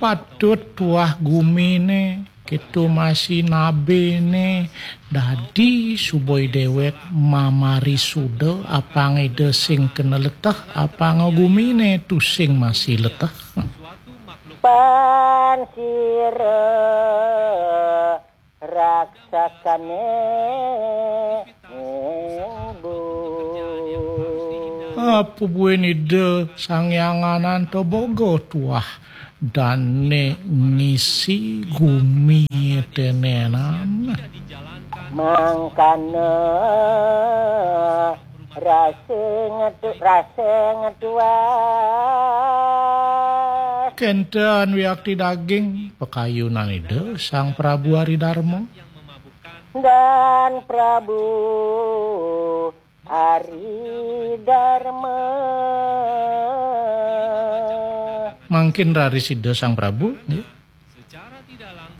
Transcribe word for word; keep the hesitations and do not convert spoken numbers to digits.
Patut tuah gumine, kitu masih nabene, dadi suboi dewek mamari suda apang ida sing kena leteh, apang gumine tusing masih leteh. Pan sira raksakane, Bu. Apa buin ida Sang Hyang Ananta boga tuah dane ngisi gumi tenenan. Mangkana rasa ngetu rasa ngetuas. Kenten wiakti daging pakayunan ida Sang Prabu Ari Darma. Dan Prabu Ari Darma. Mangkin raris ida Sang Prabu, nggih.